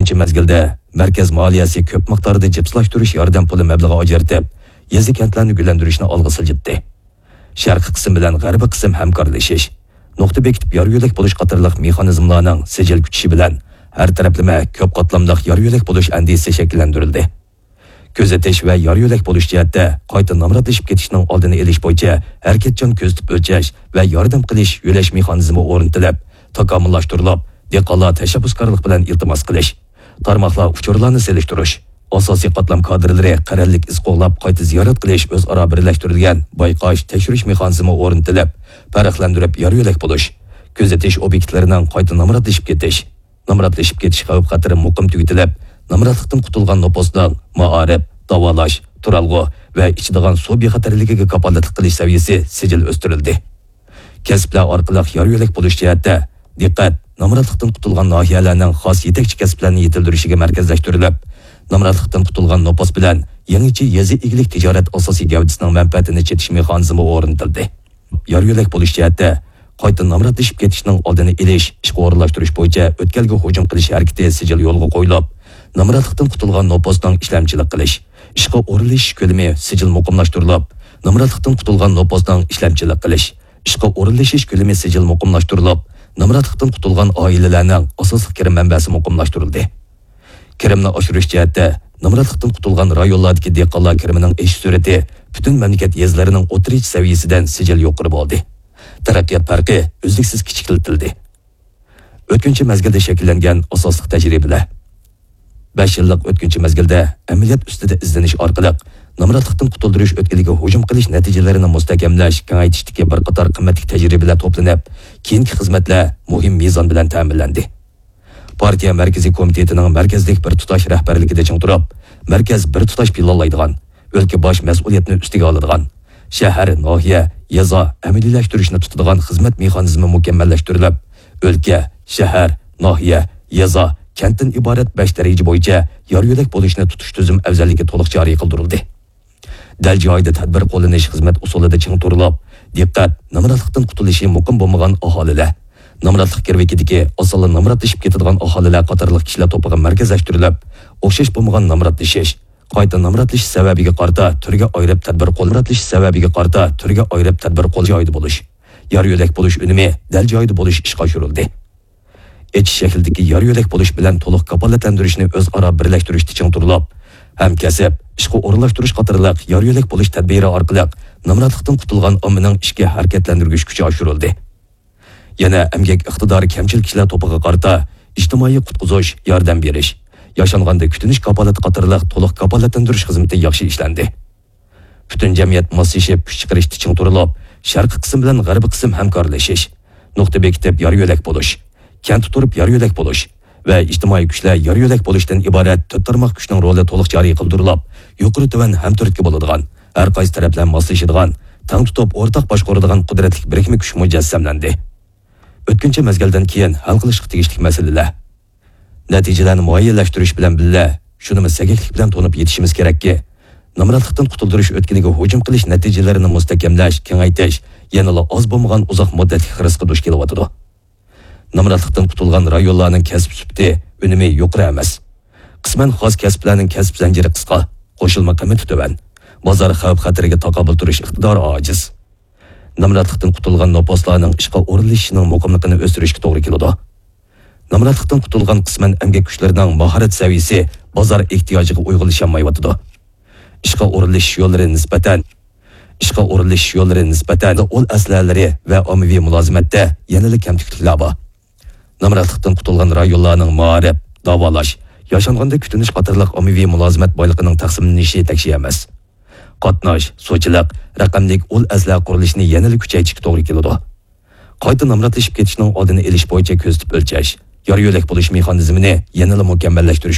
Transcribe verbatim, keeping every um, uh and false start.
شۇ مەزگىلدە مەركەز مالىيەسى كۆپ مىقداردا جىپسلاشتۇرۇش ياردەم پۇلى مەبلىغى ئاجرىتىپ، يېزا-كەنتلەرنى گۈللەندۈرۈشنى ئالغا سىلجىتتى. شەرقىي قىسىم بىلەن غەربىي قىسىم ھەمكارلىشىش، نۇقتا بېكىتىپ يار-يۆلەك بولۇش قاتارلىق مېخانىزملارنىڭ سىجىل كۈچىشى بىلەن ھەر تەرەپلىمە كۆپ قاتلاملىق يار-يۆلەك بولۇش ئەندىزىسى شەكىللەندۈرۈلدى. كۆزىتىش ۋە يار-يۆلەك بولۇش جەھەتتە قايتا نامراتلىشىپ كېتىشنىڭ ئالدىنى ئېلىش بويىچە ھەرىكەتچان كۆزىتىپ ئۆلچەش ۋە ياردەم قىلىش، يۆلەش مېخانىزمى ئورنىتىلىپ، تاكامۇللاشتۇرۇلۇپ، دېھقانلار تەشەببۇسكارلىق بىلەن ئىلتىماس قىلىش، تارماقلار ئۇچۇرلارنى سېلىشتۇرۇش، ئاساسىي قاتلام كادىرلىرى قەرەللىك ئىز قوغلاپ قايتا زىيارەت قىلىش ئۆزئارا بىرلەشتۈرۈلگەن بايقاش، تەكشۈرۈش مېخانىزمى ئورنىتىلىپ، پەرقلەندۈرۈپ يار-يۆلەك بولۇش، كۆزىتىش ئوبيېكتلىرىنىڭ قايتا نامراتلىشىپ كېتىش، نامراتلىشىپ كېتىش خەۋپ-خەتىرى مۇقىم تۈگىتىلىپ، نامراتلىقتىن قۇتۇلغان نوپۇسنىڭ مائارىپ، داۋالاش، تۇرالغۇ ۋە ئىچىدىغان سۇ بىخەتەرلىكىگە كاپالەتلىك قىلىش سەۋىيەسى سىجىل ئۆستۈرۈلدى. كەسىپلەر ئارقىلىق يار-يۆلەك بولۇش جەھەتتە دىققەت، نامراتلىقتىن قۇتۇلغان ناھىيەلەرنىڭ خاس يېتەكچى كەسىپلەرنى يېتىلدۈرۈشىگە مەركەزلەشتۈرۈلۈپ، نامراتلىقتىن قۇتۇلغان نوپۇس بىلەن يېڭىچە يېزا ئىگىلىك تىجارەت ئاساسىي گەۋدىسىنىڭ مەنپەئەتىنى چېتىش مېخانىزمى ئورنىتىلدى. يار-يۆلەك بولۇش جەھەتتە قايتا نامراتلىشىپ كېتىشنىڭ ئالدىنى ئېلىش، ئىشقا ئورۇنلاشتۇرۇش بويىچە ئۆتكەلگە ھۇجۇم قىلىش ھەرىكىتى سىجىل يولغا قويۇلۇپ، نامراتلىقتىن قۇتۇلغان نوپۇسنىڭ ئىشلەمچىلىك قىلىش، ئىشقا ئورۇنلىشىش كۆلىمى سىجىل مۇقىملاشتۇرۇلۇپ، نامراتلىقتىن قۇتۇلغان نوپۇسنىڭ ئىشلەمچىلىك قىلىش، ئىشقا ئورۇنلىشىش كۆلىمى سىجىل مۇقىملاشتۇرۇلۇپ، نامراتلىقتىن قۇتۇلغان ئائىلىلەرنىڭ ئاساسلىق كىرىم مەنبەسى مۇقىملاشتۇرۇلدى. كىرىمنى ئاشۇرۇش جەھەتتە نامراتلىقتىن قۇتۇلغان رايونلاردىكى دېھقانلار كىرىمىنىڭ ئېشىش سۈرئىتى پۈتۈن مەملىكەت يېزىلىرىنىڭ ئوتتۇرىچە سەۋىيەسىدىن سىجىل يۇقىرى بولدى. تەرەققىيات پەرقى ئۈزلۈكسىز كىچىكلىتىلدى. ئۆتكۈنچى مەزگىلدە شەكىللەنگەن ئاساسلىق تەجرىبىلەر. بەش يىللىق ئۆتكۈنچى مەزگىلدە ئەمەلىيەت ئۈستىدە ئىزدىنىش ئارقىلىق نامراتلىقتىن قۇتۇلدۇرۇش ئۆتكىلىگە ھۇجۇم قىلىش نەتىجىلىرىنى مۇستەھكەملەش، كېڭەيتىشتىكى بىر قاتار قىممەتلىك تەجرىبىلەر توپلىنىپ، كېيىنكى خىزمەتلەر مۇھىم مىزان بىلەن تەمىنلەندى. پارتىيە مەركىزىي كومىتېتىنىڭ مەركەزلىك بىر تۇتاش رەھبەرلىكىدە چىڭ تۇرۇپ، مەركەز بىر تۇتاش پىلانلايدىغان، ئۆلكە باش مەسئۇلىيەتنى ئۈستىگە ئالىدىغان، شەھەر، ناھىيە، يېزا ئەمەلىيلەشتۈرۈشنى تۇتىدىغان خىزمەت مېخانىزمى مۇكەممەللەشتۈرۈلۈپ، ئۆلكە، شەھەر، ناھىيە، يېزا، كەنتتىن ئىبارەت بەش دەرىجە بويىچە يار-يۆلەك بولۇشنى تۇتۇش تۈزۈم ئەۋزەللىكى تولۇق جارى قىلدۇرۇلدى. دەل جايىدا تەدبىر قوللىنىش خىزمەت ئۇسۇلىدا چىڭ تۇرۇلۇپ، دىققەت، نامراتلىقتىن قۇتۇلۇشى مۇقىم بولمىغان ئاھالىلەر، نامراتلىق گىرۋىكىدىكى ئاسانلا نامراتلىشىپ كېتىدىغان ئاھالىلەر قاتارلىق كىشىلەر توپىغا مەركەزلەشتۈرۈلۈپ، ئوخشاش بولمىغان نامراتلىشىش، قايتا نامراتلىشىش سەۋەبىگە قارىتا تۈرگە ئايرىپ تەدبىر قول-، نامراتلىشىش سەۋەبىگە قارىتا تۈرگە ئايرىپ تەدبىر قول جايىدا بولۇش، يار-يۆلەك بولۇش ئۈنۈمى دەل جايىدا بولۇش ئىشقا ئاشۇرۇلدى. ئېچىش شەكلىدىكى يار-يۆلەك بولۇش بىلەن تولۇق كاپالەتلەندۈرۈشنى ئۆزئارا بىرلەشتۈرۈشتە چىڭ تۇرۇلۇپ، ھەمكەسىپ، ئىشقا ئورۇنلاشتۇرۇش قاتارلىق يار-يۆلەك بولۇش تەدبىرى ئارقىلىق نامراتلىقتىن قۇتۇلغان ئاممىنىڭ ئىشقا ھەرىكەتلەندۈرگۈچ كۈچى ئاشۇرۇلدى. يەنە ئەمگەك ئىقتىدارى كەمچىل كىشىلەر توپىغا قارىتا ئىجتىمائىي قۇتقۇزۇش، ياردەم بېرىش، ياشانغاندا كۈتۈنۈش كاپالىتى قاتارلىق تولۇق كاپالەتلەندۈرۈش خىزمىتى ياخشى ئىشلەندى. پۈتۈن جەمئىيەت ماسلىشىپ كۈچ چىقىرىشتا چىڭ تۇرۇلۇپ، شەرقىي قىسىم بىلەن غەربىي قىسىم ھەمكارلىشىش، نۇقتا بېكىتىپ يار-يۆلەك بولۇش، كەنتتە تۇرۇپ يار-يۆلەك بولۇش ۋە ئىجتىمائىي كۈچلەر يار-يۆلەك بولۇشتىن ئىبارەت تۆت تارماق كۈچنىڭ رولى تولۇق جارى قىلدۇرۇلۇپ، يۇقىرى تۆۋەن ھەمتۈرتكە بولىدىغان، ھەر قايسى تەرەپلەر ماسلىشىدىغان، تەڭ تۇتۇپ ئورتاق باشقۇرىدىغان قۇدرەتلىك بىرىكمە كۈچ مۇجەسسەملەندى. ئۆتكۈنچى مەزگىلدىن كېيىن ھەل قىلىشقا تېگىشلىك مەسىلىلەر. نەتىجىلەرنى مۇئەييەنلەشتۈرۈش بىلەن بىللە، شۇنىمۇ سەگەكلىك بىلەن تونۇپ يېتىشىمىز كېرەككى، نامراتلىقتىن قۇتۇلدۇرۇش ئۆتكىلىگە ھۇجۇم قىلىش نەتىجىلىرىنى مۇستەھكەملەش، كېڭەيتىش يەنىلا ئاز بولمىغان ئۇزاق مۇددەتلىك خىرىسقا دۇچ كېلىۋاتىدۇ. نامراتلىقتىن قۇتۇلغان رايونلارنىڭ كەسىپ سۈپىتى، ئۈنۈمى يۇقىرى ئەمەس. قىسمەن خاس كەسىپلەرنىڭ كەسىپ زەنجىرى قىسقا، قوشۇلما قىممىتى تۆۋەن، بازار خەۋپ-خەتىرىگە تاقابىل تۇرۇش ئىقتىدارى ئاجىز. نامراتلىقتىن قۇتۇلغان نوپۇسلارنىڭ ئىشقا ئورۇنلىشىشىنىڭ مۇقىملىقىنى ئۆستۈرۈشكە توغرا كېلىدۇ. نامراتلىقتىن قۇتۇلغان قىسمەن ئەمگەك كۈچلىرىنىڭ ماھارەت سەۋىيىسى بازار ئېھتىياجىغا ئۇيغۇنلىشالمايۋاتىدۇ. ئىشقا ئورۇنلىشىش يوللىرى نىسبەتەن، ئىشقا ئورۇنلىشىش يوللىرى نىسبەتەن ئۇل ئەسلىھەلىرى ۋە ئاممىۋى مۇلازىمەتتە يەنىلا كەمتۈكلۈكلەر بار. نامراتلىقتىن قۇتۇلغان رايونلارنىڭ مائارىپ، داۋالاش، ياشانغاندا كۈتۈنۈش قاتارلىق ئاممىۋى مۇلازىمەت بايلىقىنىڭ تەقسىملىنىشى تەكشى ئەمەس. قاتناش، سۇچىلىق، رەقەملىك ئۇل ئەسلىھە قۇرۇلۇشىنى يەنىلا كۈچەيتىشكە توغرا كېلىدۇ. قايتا نامراتلىشىپ كېتىشنىڭ ئالدىنى ئېلىش بويىچە كۆزىتىپ ئۆلچەش، يار-يۆلەك بولۇش مېخانىزمىنى يەنىلا مۇكەممەللەشتۈرۈش